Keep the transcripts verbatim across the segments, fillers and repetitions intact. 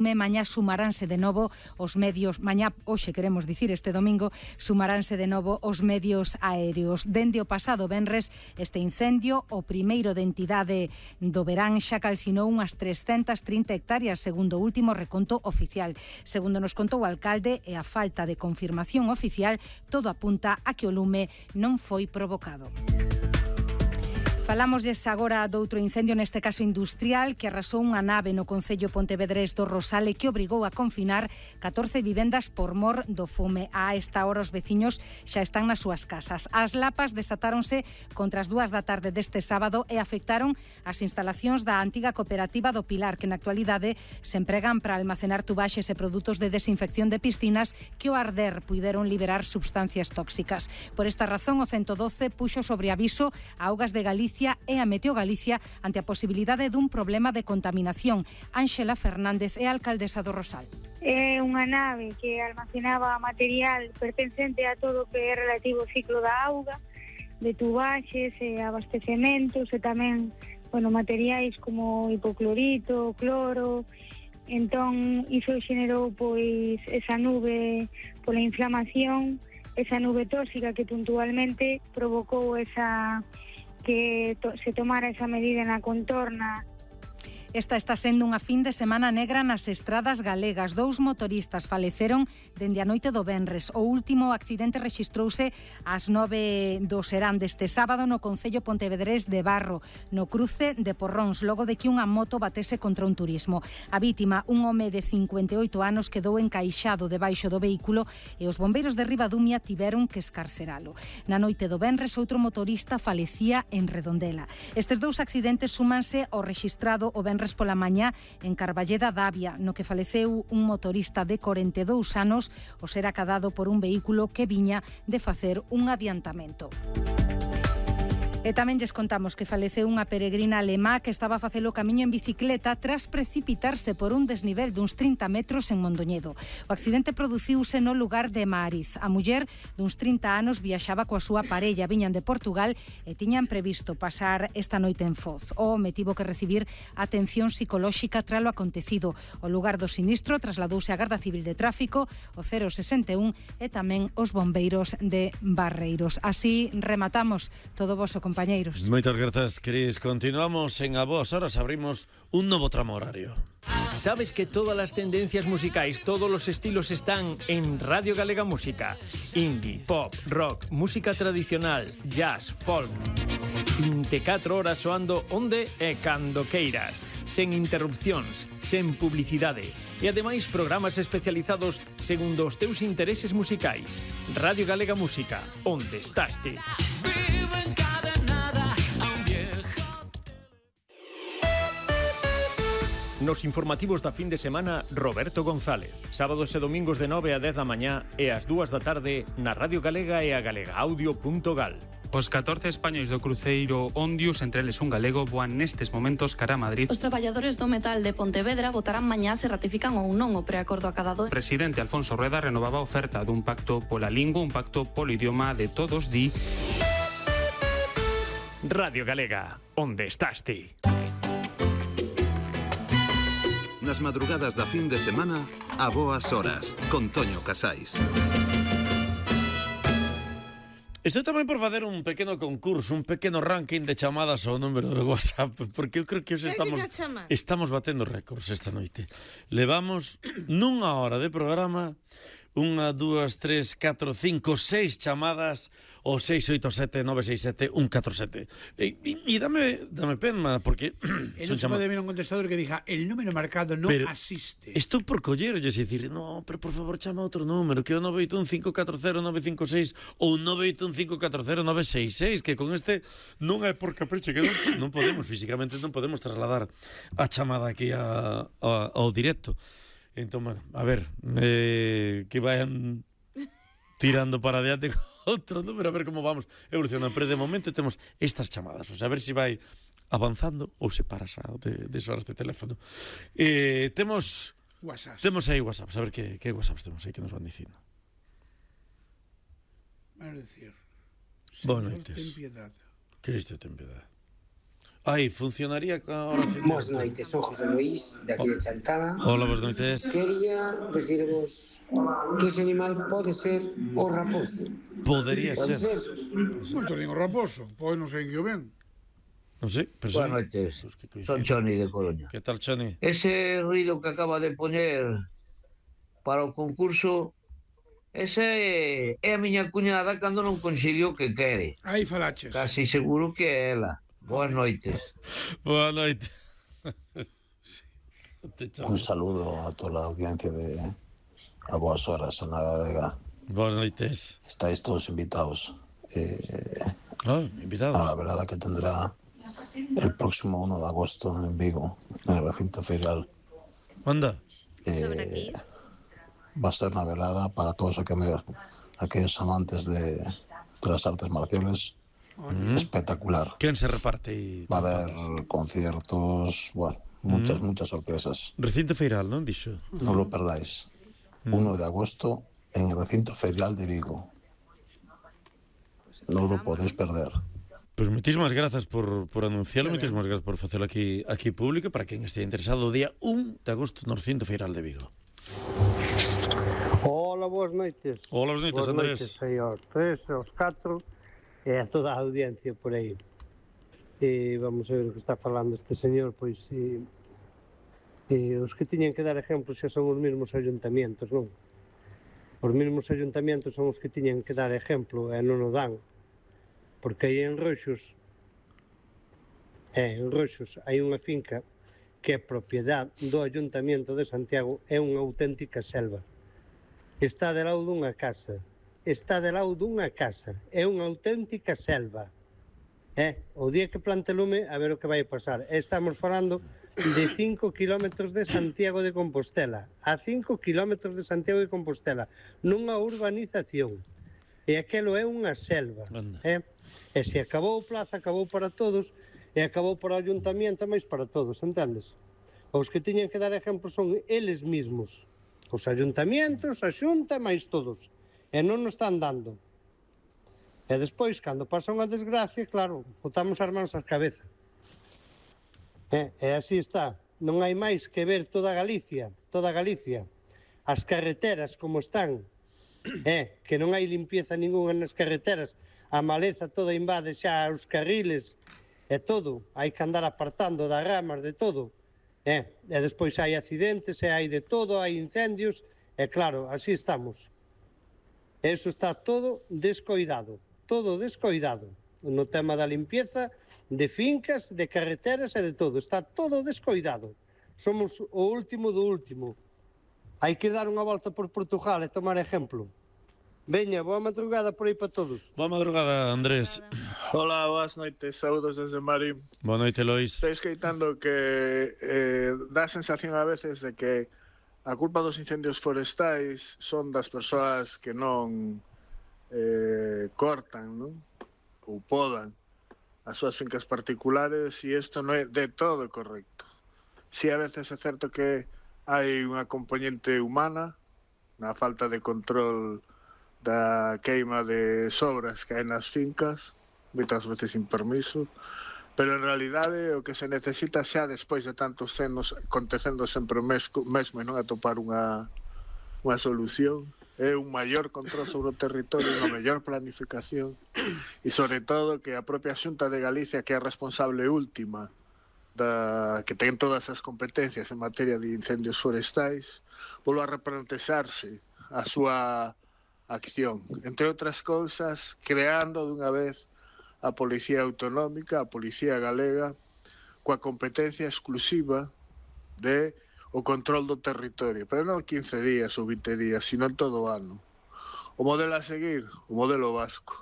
Mañá sumaránse de novo os medios, mañá, hoxe queremos dicir este domingo, sumaránse de novo os medios aéreos. Dende o pasado venres, este incendio, o primeiro de entidade do verán, xa calcinou unhas trescentas trinta hectáreas, segundo o último reconto oficial. Segundo nos contou o alcalde, e a falta de confirmación oficial, todo apunta a que o lume non foi provocado. Falámosles agora doutro incendio, neste caso industrial, que arrasou unha nave no concello pontevedrés do Rosal e que obrigou a confinar catorce vivendas por mor do fume. A esta hora os veciños xa están nas súas casas. As lapas desatáronse contra as dúas da tarde deste sábado e afectaron as instalacións da antiga cooperativa do Pilar, que na actualidade se empregan para almacenar tubaxes e produtos de desinfección de piscinas que ao arder puideron liberar substancias tóxicas. Por esta razón, o ciento doce puxo sobre aviso a Augas de Galicia e a Meteo Galicia ante a posibilidade dun problema de contaminación. Ángela Fernández é alcaldesa do Rosal. É unha nave que almacenaba material pertencente a todo o que é relativo ao ciclo da auga, de tubaxes e abastecementos e tamén, bueno, materiais como hipoclorito, cloro. Entón, iso xenerou pois esa nube pola inflamación, esa nube tóxica que puntualmente provocou esa que to, se tomara esa medida na contorna. Esta está sendo unha fin de semana negra nas estradas galegas. Dous motoristas faleceron dende a noite do venres. O último accidente rexistrouse ás nove do serán deste sábado no concello pontevedrés de Barro, no cruce de Porróns, logo de que unha moto batese contra un turismo. A vítima, un home de cincuenta e oito anos, quedou encaixado debaixo do vehículo e os bombeiros de Ribadumia tiveron que escarceralo. Na noite do venres, outro motorista falecía en Redondela. Estes dous accidentes súmanse ao rexistrado o venres pola mañá en Carballeda d'Avia, no que faleceu un motorista de corenta e dous anos ao ser acadado por un vehículo que viña de facer un adiantamento. E tamén lles contamos que faleceu unha peregrina alemá que estaba a facer o camiño en bicicleta tras precipitarse por un desnivel duns trinta metros en Mondoñedo. O accidente produciuse no lugar de Maariz. A muller duns trinta anos viaxaba coa súa parella, viñan de Portugal e tiñan previsto pasar esta noite en Foz. O home tivo que recibir atención psicolóxica tralo acontecido. O lugar do sinistro trasladouse á Garda Civil de Tráfico, o cero sesenta e un e tamén os bombeiros de Barreiros. Así rematamos todo voso compañeiros. Moitas grazas, Cris. Continuamos en A Boas Horas, abrimos un novo tramo horario. ¿Sabes que todas las tendencias musicais, todos los estilos están en Radio Galega Música? Indie, pop, rock, música tradicional, jazz, folk. vinte e catro horas soando onde e cando queiras, sen interrupcións, sen publicidade. E ademais programas especializados segundo os teus intereses musicais. Radio Galega Música, onde estás ti? Nos informativos da fin de semana, Roberto González. Sábados e domingos de nove a dez da mañá e ás dúas da tarde na Radio Galega e a galegaaudio punto gal. Os catorce españois do cruceiro Ondius, entre eles un galego, voan nestes momentos cara a Madrid. Os traballadores do metal de Pontevedra votarán mañá se ratifican ou non o preacordo acadado. O presidente Alfonso Rueda renovaba a oferta dun pacto pola lingua, un pacto polo idioma de todos, di... Radio Galega, onde estás ti? Nas madrugadas da fin de semana, A Boas Horas, con Toño Casais. Estou tamén por facer un pequeno concurso, un pequeno ranking de chamadas ao número de WhatsApp, porque eu creo que os estamos estamos batendo récords esta noite. Levamos nunha hora de programa unha, dúas, tres, catro, cinco, seis chamadas ao seis oito sete nove seis sete un catro sete. E, e, e dame, dame pena, porque... E non se pode ver un contestador que diga el número marcado non pero asiste. Estou por collerlles e dicir, no, pero por favor chama outro número, que é o nove oito un cinco catro cero nove cinco seis ou nove oito un cinco catro cero nove seis seis, que con este non é por capricho, que non, non podemos, físicamente non podemos trasladar a chamada aquí a, a, ao directo. Entón, bueno, a ver, eh, que vayan tirando para adiante con outro número, a ver como vamos evolucionando. Pero de momento temos estas chamadas, o sea, a ver se si vai avanzando ou se para xa de, de soar este teléfono. Eh, temos WhatsApp. Temos aí WhatsApp, a ver que, que WhatsApp temos aí que nos van dicindo. Van a decir, Boa Señor, noites. ten piedad. Cristo ten piedad. Ai, funcionaría ca oración. Boas noites, son José Luis, de aquí de Chantada. Hola, boas noites. Quería decirvos que ese animal pode ser o raposo. Podería Pode ser. ser. Moito digo raposo, pois non sei que o ven. Non sei, pero Boas son... noites, Pues que coincide. son Choni de Coruña. Que tal, Choni? Ese ruido que acaba de poñer para o concurso, ese é a miña cuñada cando non conseguiu o que quere. Aí falaches. Casi seguro que é ela. Boas noites. Boa noite. Un saludo a toda a audiencia de A Boas Horas, Zona Galega. Boas noites. Estáis todos invitados eh, ah, invitados. a la velada que tendrá el próximo uno de agosto en Vigo, en el recinto ferial. Anda. Eh, va a ser una velada para todos aquellos, aquellos amantes de, de las artes marciales. Mm. Espectacular. ¿Quién se reparte? Y... Va a haber conciertos, bueno, muchas, mm. muchas sorpresas. Recinto ferial, ¿no? Dicho. No lo perdáis. Mm. uno de agosto en el recinto ferial de Vigo. No lo podéis perder. Pues muchísimas gracias por, por anunciarlo, muchísimas gracias por hacerlo aquí, aquí público, para quien esté interesado, o día uno de agosto no recinto ferial de Vigo. Hola, boas noites. Hola, boas noites, Andrés. Boas noites aí aos tres, aos catro, e a toda a audiencia por aí. E vamos a ver o que está falando este señor, pois e, e os que tiñen que dar exemplos xa son os mesmos ayuntamientos, non? Os mesmos ayuntamientos son os que tiñen que dar exemplo e non o dan. Porque aí en Roxos, é, en Roxos hai unha finca que é propiedade do Ayuntamiento de Santiago, é unha auténtica selva. Está de lado dunha casa, está de lado dunha casa, é unha auténtica selva. É, o día que plante lume, a ver o que vai pasar. Estamos falando de cinco kilómetros de Santiago de Compostela, a cinco kilómetros de Santiago de Compostela, nunha urbanización. E aquelo é unha selva, é. E se acabou o plaza, acabou para todos, e acabou para o ayuntamiento, máis para todos, entendes? Os que tiñen que dar exemplo son eles mismos, os ayuntamientos, a xunta, máis todos, e non nos están dando. E despois, cando pasa unha desgracia, claro, botamos as mans ás cabeza. E, e así está, non hai máis que ver toda Galicia, toda Galicia, as carreteras como están, é, que non hai limpieza ninguna nas carreteras, a maleza toda invade xa os carriles e todo, hai que andar apartando das ramas de todo, e, e despois hai accidentes e hai de todo, hai incendios, e claro, así estamos. Eso está todo descoidado, todo descoidado, no tema da limpieza, de fincas, de carreteras e de todo, está todo descoidado. Somos o último do último. Hai que dar unha volta por Portugal e tomar exemplo. Veña, boa madrugada por aí para todos. Boa madrugada, Andrés. Hola, boas noites, saúdos desde Mari. Boa noite, Lois. Estou escoitando que eh, dá a sensación a veces de que a culpa dos incendios forestais son das persoas que non eh, cortan, non? Ou podan as súas fincas particulares, e isto non é de todo correcto. Si a veces é certo que hai unha componente humana na falta de control da queima de sobras que hai nas fincas, moitas veces sin permiso, pero en realidade o que se necesita xa despois de tantos anos acontecendo sempre o mesmo, mesmo e non atopar unha, unha solución, é un maior control sobre o territorio, unha mellor planificación e sobre todo que a propia Xunta de Galicia, que é a responsable última da, que ten todas as competencias en materia de incendios forestais, volva a replantexarse a súa acción, entre outras cousas, creando dunha vez a Policía Autonómica, a Policía Galega, coa competencia exclusiva de o control do territorio, pero non quince días ou vinte días, sino en todo o ano. O modelo a seguir, o modelo vasco.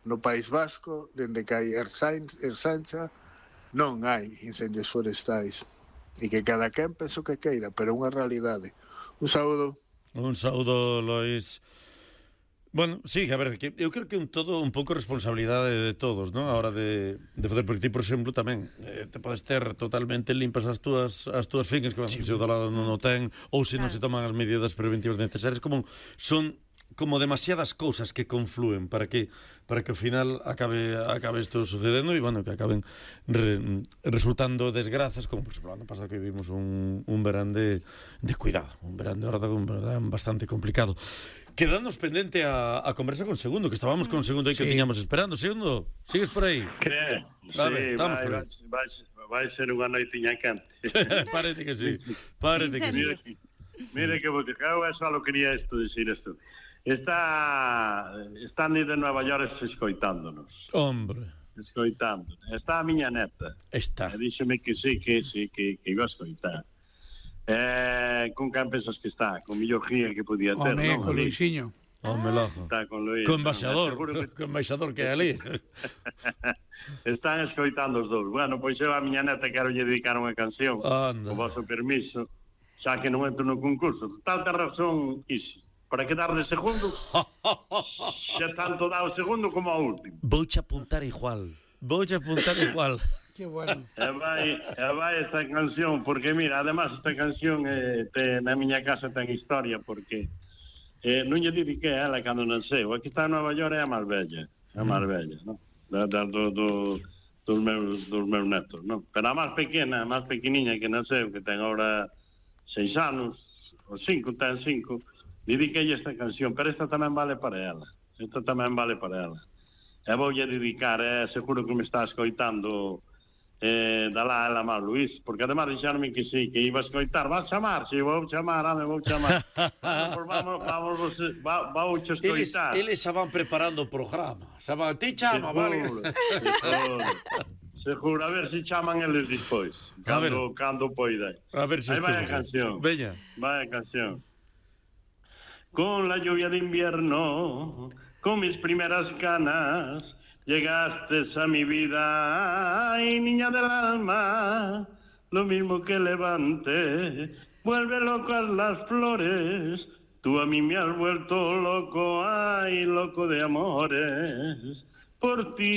No País Vasco, dende que hai Ersancha, non hai incendios forestais. E que cada quen penso que queira, pero unha realidade. Un saúdo. Un saúdo, Lois. Bueno, sí, a ver, que eu creo que é un todo un pouco responsabilidade de todos, ¿no? A hora de, de fazer, porque ti, por exemplo, tamén eh, te podes ter totalmente limpas as túas as túas fincas, que sí, se o do lado non o ten, ou se non se toman as medidas preventivas necesarias, como son como demasiadas cousas que confluen para que para que ao final acabe acabe isto sucedendo e, bueno, que acaben re, resultando desgrazas, como por exemplo, ano pasado que vivimos un, un verán de, de cuidado, un verán de verdade, un verán bastante complicado. Quedándonos pendente a, a conversa con Segundo, que estábamos con Segundo aí que sí. tiñamos esperando. Segundo, sigues por aí? Que? A ver, Sí, estamos vai, por aí. vai, vai ser unha noitiña quente. Parece que sí, parece que sí. Mira, mira que vou dicir, eu só quería isto, dicir isto. Está están de Nova York escoitándonos. Hombre. Escoitando. Está a miña neta. Está. E díxeme que sí, que sí, que, que iba a escoitar. Eh, con quen pensas que está? Con millor guía que podía ter, Home, non? con Luisinho. Home, loco. Está con Luis. Con embaixador, que... con embaixador que é ali. Están escoitando os dous. Bueno, pois eu a miña neta quero lle dedicar unha canción. Anda. O vosso permiso, xa que non entro no concurso. Tal razón, iso. Para quedar de segundo, xa tanto dá o segundo como o último. Vouche apuntar igual. Vouche apuntar igual. Que bueno. E vai, e vai esta canción, porque mira, además esta canción eh, te, na miña casa ten historia, porque eh, non lle dediquei a ela cando nasceu. Aquí está en Nova York é a máis bella, é a máis bella, non? Da, da, do, do, dos, meus, dos meus netos, non? Pero a máis pequena, a máis pequeniña que nasceu, que ten agora seis anos, ou cinco, ten cinco, dediquei esta canción, pero esta tamén vale para ela. Esta tamén vale para ela. E voulle dedicar, eh, seguro que me está escoitando eh, dala ela máis, Luís, porque además dixarme que sí, que iba a escoitar. Vas chamar? Si, sí, vou chamar, ame, vou chamar. Pues vamos, vamos, vamos, va, vamos a escoitar. Eles, eles xa van preparando o programa. Xa van, ti chama, vale? Seguro, seguro, a ver se chaman eles despois. Cando, cando poida. A ver se Aí vai a canción. Veña. Vai a canción. Con la lluvia de invierno, con mis primeras canas, llegaste a mi vida, ay, niña del alma, lo mismo que levante, vuelve locas las flores, tú a mí me has vuelto loco, ay, loco de amores, por ti.